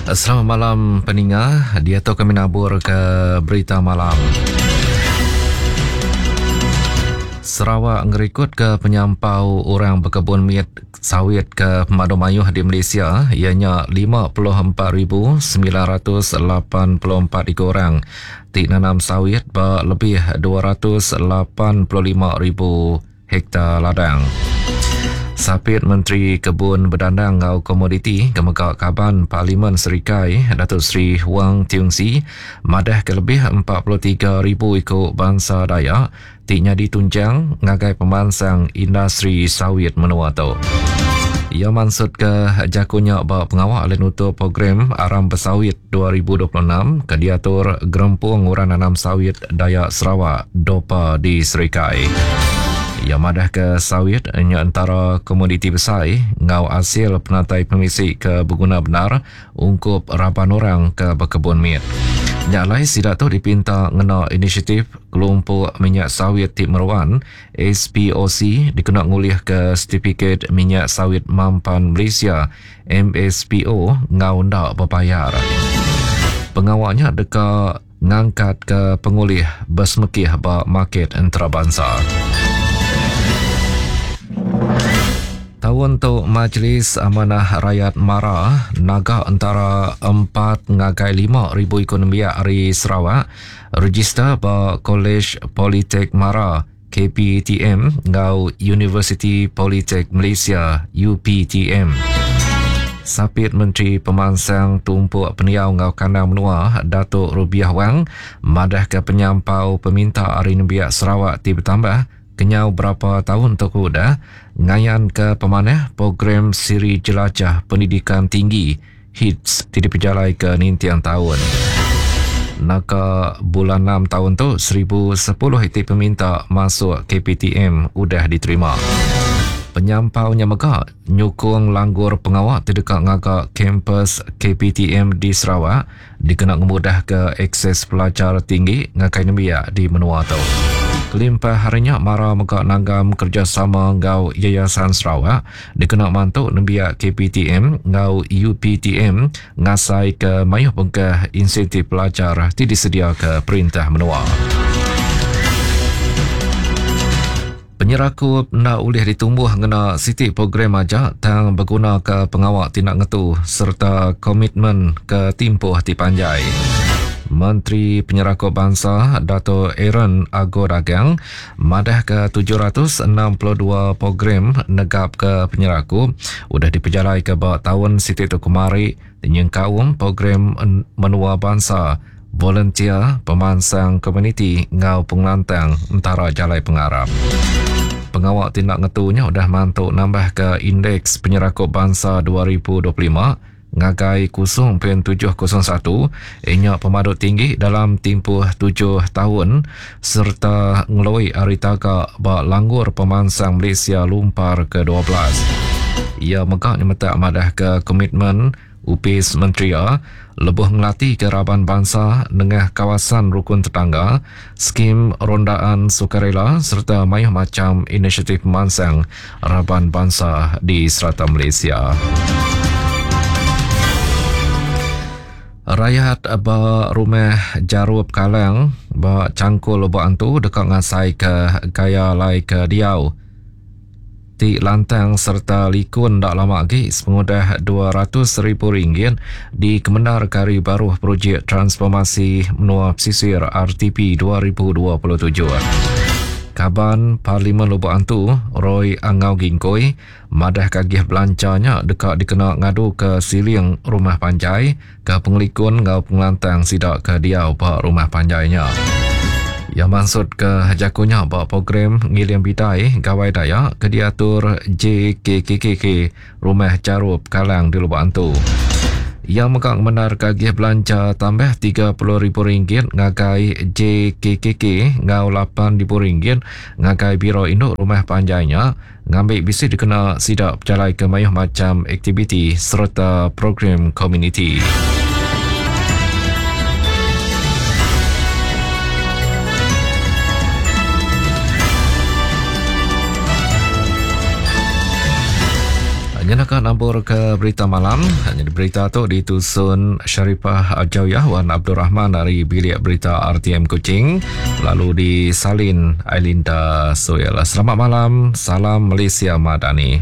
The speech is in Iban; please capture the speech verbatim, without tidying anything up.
Selamat malam peninga, dia tu kami nabur ke berita malam. Sarawak ngerikut ke penyampau orang berkebun mit sawit ke Pemadu Mayuh di Malaysia ianya lima puluh empat ribu sembilan ratus lapan puluh empat ekor orang ti nanam sawit ba lebih dua ratus lapan puluh lima ribu hektar ladang. Sapit Menteri Kebun Bedandang Ngau Komoditi Kemega Kaban Parlimen Serikai Datuk Seri Huang Tiong Sii madah ke lebih empat puluh tiga ribu ikut bangsa Dayak ti nyadi tunjang ngagai pemansang industri sawit menua tu. Ia maksud ke jakunya ba pengawal oleh nutup program Aram Bersawit dua ribu dua puluh enam ke diatur Gerempung Orang Nanam Sawit Dayak Sarawak Dopa di Serikai. Ia madah ke sawit nya antara komoditi besar ngau hasil penatai pemisi ke berguna benar ungkup raban orang ke berkebun mit. Nya lai sidak tu dipinta ngena inisiatif kelompok minyak sawit ti meruan S P O C dikena ngulih ke sertifikat minyak sawit mampan Malaysia M S P O ngau ndak berbayar. Pengawalnya deka ngangkat ke pengulih bersemekih ba market antarabangsa. Tahun tu Majlis Amanah Rakyat Mara naga antara empat ngagai lima ribu ekonomi hari Sarawak register ba College Politek Mara K P T M ngau University Politek Malaysia U P T M. Sapit Menteri Pemansang Tumpuk Peniau Ngau Kandang Menua Datuk Rubiah Wang madah ke penyampau peminta hari nembiak Sarawak ti bertambah kenyau berapa tahun tu udah ngayan ke pemanah program siri jelajah pendidikan tinggi H I T S ti dipejalai ke nintiang tahun. Naka bulan enam tahun tu seribu sepuluh iti peminta masuk K P T M udah diterima. Penyampaunya mega nyukung langgur pengawak tidak ngagak kampus K P T M di Sarawak dikena ngemudah ke akses pelajar tinggi ngakai nembiak di menua tu. Kelimpah harinya Mara mega nanggam kerjasama ngau Yayasan Sarawak dikena mantu nembiak K P T M ngau U P T M ngasai ke mayuh bengkah insentif pelajar ti disedia ke perintah menua. Penyerakup nak ulih ditumbuh ngena siti program aja tang berguna ke pengawak tindak ngetu serta komitmen ke timpuh ti panjai. Menteri Penyerakup Bangsa Dato' Aaron Ago Dagang madah ke tujuh ratus enam puluh dua program negap ke penyerakup udah dipejalai ke ba tahun siti tu kemari nyengkaum program menua bangsa volunteer pemansang komuniti ngau pengelantang antara jalai pengarap. Pengawak tindak ngetunya udah mantuk nambah ke indeks penyerakup bangsa dua ribu dua puluh lima ngagai kosong perpuluhan tujuh kosong satu inya pemadut tinggi dalam tempoh tujuh tahun serta ngeloi hari tagak ba langgur pemansang Malaysia lumpar ke dua belas. Ia megak nyemetak madah ke komitmen Upis Menteri lebuh ngelatih ke raban bangsa nengah kawasan rukun tetangga, skim rondaan sukarela serta mayuh macam inisiatif pemansang raban bangsa di serata Malaysia. Rakyat ba rumah Jarup Kalang ba Cangkul Lubok Antu dekat ngasai ke gaya lai ke diau ti lantang serta likun tak lama lagi sepengudah dua ratus ribu ringgit di Kemenar Kari Baruh Projek Transformasi Menua Pesisir R T P dua ribu dua puluh tujuh. Kaban Parlimen Lubok Antu Roy Angau Gingkoi madah kagih belancanya dekat dikena ngadu ke siling rumah panjai ke pengelikun ngau pengelantang sidak ke diau pak rumah panjainya. Yang maksud ke jakunya bak program Ngiling Bidai Gawai Dayak ke diatur J K K K K Rumah Jarup Kalang di Lubok Antu. Yang megang benar kagih belanja tambah tiga puluh ribu ringgit ngagai J K K K ngau lapan ribu ringgit ngagai Biro Induk Rumah Panjainya ngambil bisi dikena sidak berjalai ke mayuh macam aktiviti serta program komuniti. Nyenaka nambur ke berita malam. Jadi berita tu ditusun Sharifah Ajawiyah Wan Abdul Rahman dari Bilik Berita R T M Kuching, lalu disalin Ailinda Suel. Selamat malam, salam Malaysia Madani.